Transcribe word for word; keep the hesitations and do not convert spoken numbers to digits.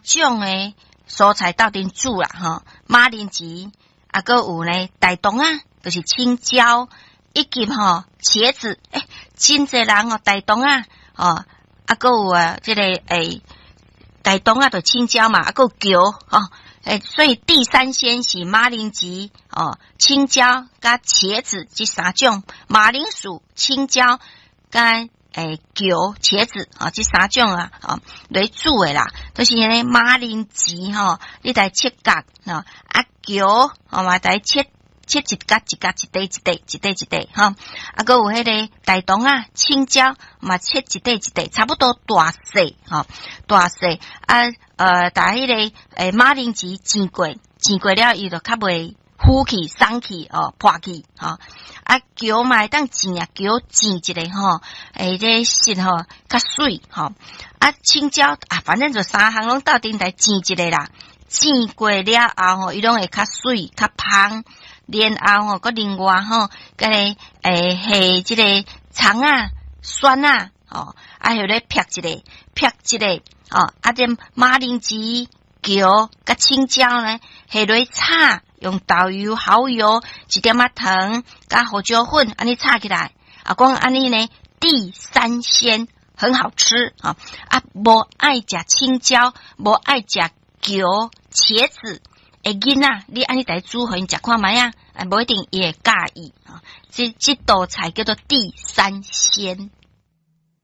種的蔬菜鬥陣煮啦，吼，馬鈴薯，啊，閣有呢大腸仔，就是青椒，以及吼茄子，欸，真濟人哦，大腸仔，哦，啊，閣有啊，這个欸，大腸仔就青椒嘛，啊，閣有蕎，吼，欸，所以地三鮮是馬鈴薯，哦，青椒佮茄子這三種，馬鈴薯、青椒佮欸蕎、茄子，哦，這三種啊，哦，來煮的啦，就是呢馬鈴薯吼，你來切角，吼，啊蕎，吼嘛來切切一角一角一塊一塊一塊一塊，吼，啊，閣有彼个大腸仔、青椒嘛切一塊一塊，差不多大細，吼，大細啊，呃，共彼个欸馬鈴薯煎過，煎過了伊就較袂糊去、鬆去，哦，破去，吼，啊，蕎嘛會當煎啊，蕎煎一下吼，欸，這個色吼較媠，吼，啊，青椒啊，反正就三項攏鬥陣來煎一下啦，煎過了後吼，伊攏會較媠、較芳。然後吼，閣另外吼，閣個欸下這個蔥仔、蒜仔，吼，啊，予咧劈一下，劈一下，哦，啊，這馬鈴薯、蕎佮青椒呢，下落炒，用豆油、蠔油，一點仔糖，佮胡椒粉，按呢炒起來，啊，講按呢呢，地三鮮很好吃啊！啊，無愛食青椒，無愛食蕎、茄子的囡仔，你按呢來煮予𪜶食看覓仔，啊，無一定伊會佮意啊。這這道菜叫做地三鮮。